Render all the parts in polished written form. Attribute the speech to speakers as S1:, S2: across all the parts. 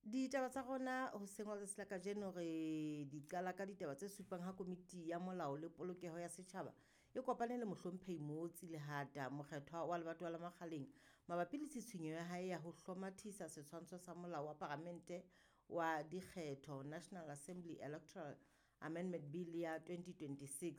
S1: Ditaba tsa rona hoseng wa letsatsi la kajeno re di qala ka ditaba tse supang ha komiti ya molao le polokeho ya setjhaba e kopane le mohlomphehi Mootsi Lehata, mokgethwa wa lebatowa la Makgaleng, mabapi le tshitshinyo ya hae ya ho hlomathisa setshwantsho sa molao wa paramente wa dikgetho National Assembly Electoral Amendment Bill ya 2026.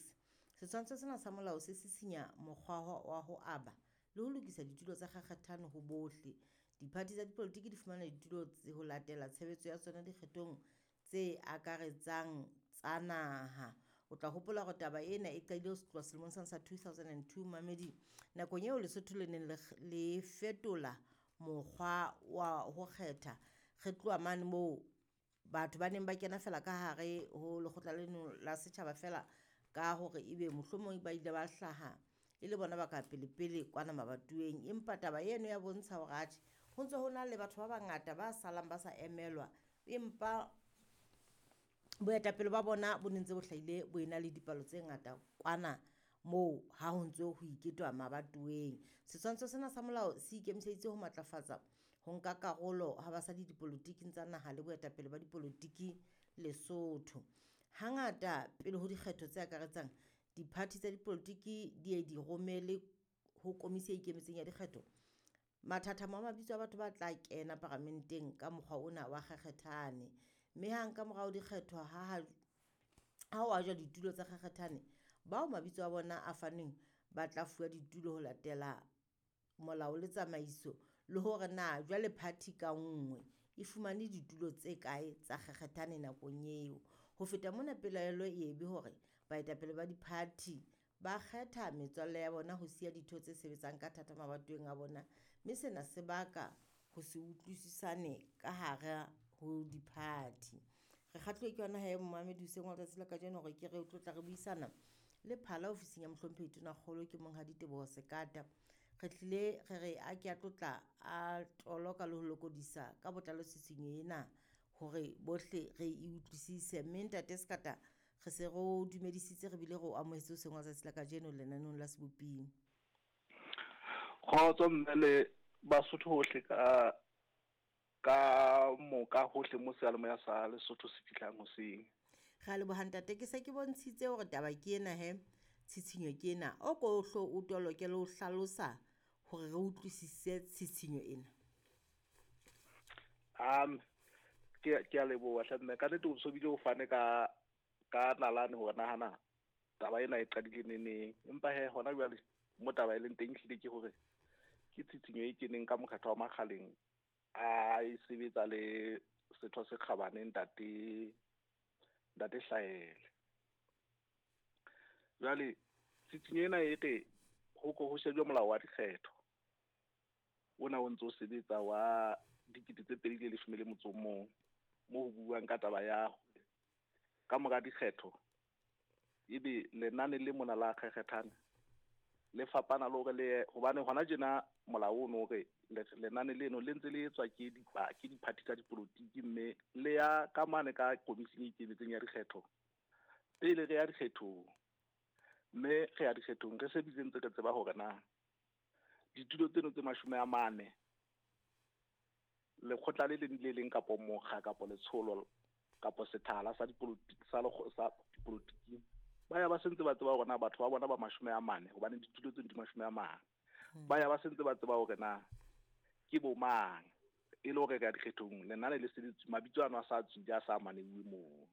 S1: Setshwantsho sena sa molao se sisinya mokgwa wa ho aba le ho lokisa ditulo tsa kgakgathano ho bohle. Diphathi tsa dipolotiki di fumana ditulo ho latela tshebetso ya tsona dikgethong tse akaretsang tsa naha. O tla hopola hore taba ena e qadile ho tloha selemong sena sa 2002 mamedi, nakong eo Lesotho le neng le fetola mokgwa wa ho kgetha. Re tloha mane moo batho ba neng ba kena fela ka hare ho lekgotla leno la setjhaba fela ka hore ebe mohlomong ba ile ba hlaha e le bona ba ka pele-pele kwana mabatoweng. Empa taba eno ya bontsha hore atjhe, ho ntse ho na le batho ba bangata ba salang ba sa emelwa, empa boetapele ba bona bo ne ntse bo hlahile bo ena le dipalo tse ngata kwana moo ha ho ntso ho iketwa mabatoweng. Setshwantsho sena sa molao se ikemiseditse ho matlafatsa ho nka karolo ha basadi dipolotiking tsa naha le boetapele ba dipolotiki Lesotho. Hangata pele ho dikgetho tse akaretsang, diphathi tsa dipolotiki di ye di romele ho komisi e ikemetseng ya dikgetho mathathamo a mabitso a batho ba tla kena paramenteng ka mokgwa ona wa kgakgethane. Mme hang ka morao dikgetho ha ho ajwa ditulo tsa kgakgethane, bao mabitso a bona a fanweng ba tla fuwa ditulo ho latela molao le tsamaiso, le hore na jwale party ka nngwe e fumane ditulo tse kae tsa kgakgethane nakong eo. Ho feta mona, pelaelo e be hore baetapele ba di-party ba kgetha metswalle ya bona ho siya ditho tse sebetsang ka thata mabatoweng a bona, mme sena se baka ho se utlwisisane ka hara ho di-party. Re kgahluwe ke yona he momamedi hoseng wa letsatsi la kajeno hore ke re tlo tla re buisana le phala ofising ya mohlomphehi Tonakgolo ke monghadi Teboho Sekata. Re tlile re re a ke a tlotla a toloka le ho lokodisa ka botlalo tshitshinyo ena hore bohle re e utlwisise. Mme ntate Sekata, re se re o dumedisitse re bile re o amohetse hoseng wa letsatsi la kajeno lenaneong la Seboping.
S2: Kgotso mme le Basotho hohle ka moka hohle mo seyalemoya sa Lesotho se fihlang hoseng.
S1: Re a leboha ntate, ke se ke bontshitse hore taba ke ena he, tshitshinyo ke ena. O ko hlo o toloke le ho hlalosa hore re utlwisise tshitshinyo ena.
S2: Ke a leboha hle mme, ka nnete o so bile o fane ka nalane hore nahana taba ena e qadile neneng. Empa he hona jwale mo taba e leng teng ehlile ke hore ke tshitshinyo e keneng ka mokgatlo wa Makgaleng a e sebetsa le setho se kgabane ntate Hlaele. Jwale tshitshinyo ena e re ho ko ho shejwe molao wa dikgetho ona o ntso o sebetsa wa 2011, mo ho buuwang ka taba ya hore ka mora dikgetho ebe lenane le mona la kgekgethane le fapana le hore le, hobane hona tjena molao ono hore lenane leno le ntse le etswa ke diphathi tsa dipolotiki, mme le ya ka mane ka komising e ikemetseng ya dikgetho pele re ya dikgethong. Mme re ya dikgethong re se bile ntse re tseba hore na ditulo tseno tse 40 lekgotla le leng le leng kapo mokga kapo letsholo kapo sethala sa dipolotiki sa sa dipolotiki ba ya ba sentse ba tseba hore na batho ba bona ba 40, hobane ditulo tseno di 40. Ba ya ba sentse ba tseba hore na ke bo mang, e le hore re ya dikgethong lenane le se le mabitso ano a sa tswile a sa maneuwe moo.